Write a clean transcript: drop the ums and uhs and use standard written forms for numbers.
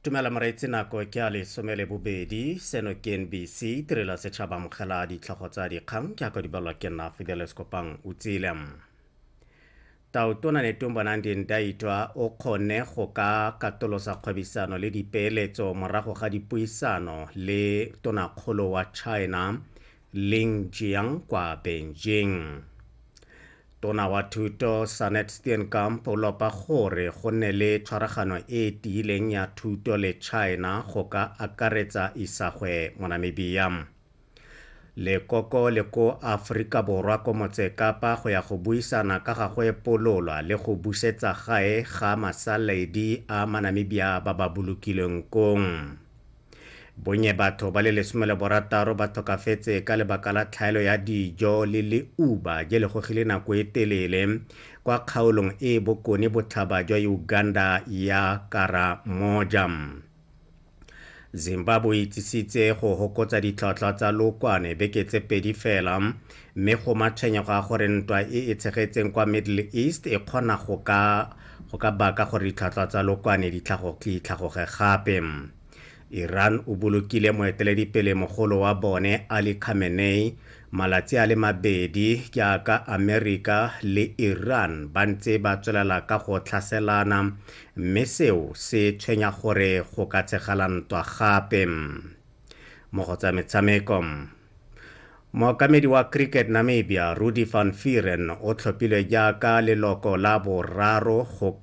Tumela moreetsi nako ke a lesome le bobedi seno ke NBC tirelo ya setšhaba amogela ditlhogo tsa dikgang ke ako di balwa ke nna Fidelis Kopang o tsile. Tautona Netumbo Nandi-Ndaitwah o kgonne go ka katolosa kgwebisano le dipeeletso morago ga dipuisano le tonakgolo wa China Ling Jiang kwa Beijing. Tona wa Thuto Sanet Steenkamp o lopa gore go nne le tshwaragano e e tiileng ya thuto le China go ka akaretsa isagwe mo Namibia. Lekoko le ko Aforika Borwa ko Motse Kapa go ya go buisana ka ga go epololwa le go busetsa gae ga masaledi a Manamibia ba ba bolokilweng kong. Bonnye batho ba le 16 ba tlhokafetse ka lebaka la tlhaelo ya dijo le leuba je le gogile nako e telele kwa kgaolong e e bokone botlhaba jwa Uganda ya Karamoja. Zimbabwe e itsisitse go hokotsa ditlhwatlhwa tsa lookwane beke tse pedi fela mme go matshwenyego a gore ntwa e e tshegetseng kwa Middle East e kgona go ka go ka baka gore ditlhwatlhwa tsa lookwane di tlhagoge gape. Iran o bolokile moeteledipele mogolo wa bone Ali Khamenei malatsi a le mabedi jaaka Amerika le Iran ba ntse ba tswelela ka go tlhaselana mme seo se tshwenya gore go ka tshegala ntwa gape. Mo go tsa metshameko, Mookamedi wa Cricket Namibia Rudi van Vuuren o tlhophilwe jaaka leloko la boraro go ka.